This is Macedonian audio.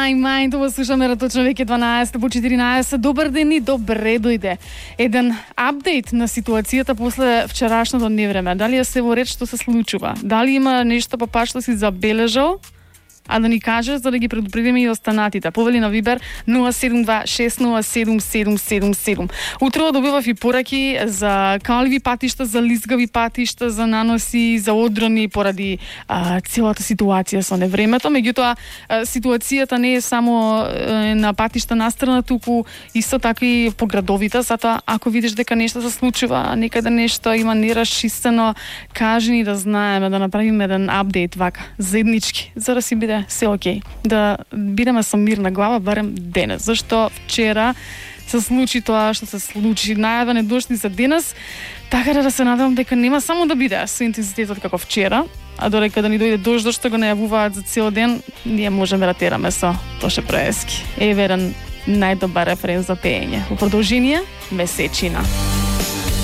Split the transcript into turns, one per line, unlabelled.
Мај, това слушаме точно веќе 12 по 14. Добар ден и добре дојде. Еден апдейт на ситуацијата после вчерашното невреме. Дали е се во ред што се случува? Дали има нешто па пак што си забележал? А да ни кажеш за да ги предупредиме и останатите. Повели на Вибер 072-607-777. Утро добивав и пораки за калви патишта, за лизгави патишта, за наноси, за одрони поради целата ситуација со невремето. Меѓутоа, ситуацијата не е само на патишта настрана, туку исто така и по градовите. Затоа, ако видиш дека нешто се случува, некаде нешто има нерашистено, кажи ни да знаеме, да направиме еден апдейт вака, заеднички, за да си биде се окей. Да бидеме со мирна глава барем денес. Зашто вчера се случи тоа што се случи. Најава не дошли за денес, така да се надевам дека нема само да биде со интензитетот како вчера, а додека да ни дојде дожд што го најавуваат за цел ден, ние можеме да тераме со Тоше Проески. Еве еден најдобар референ за пеење. Во продолжение, месечина.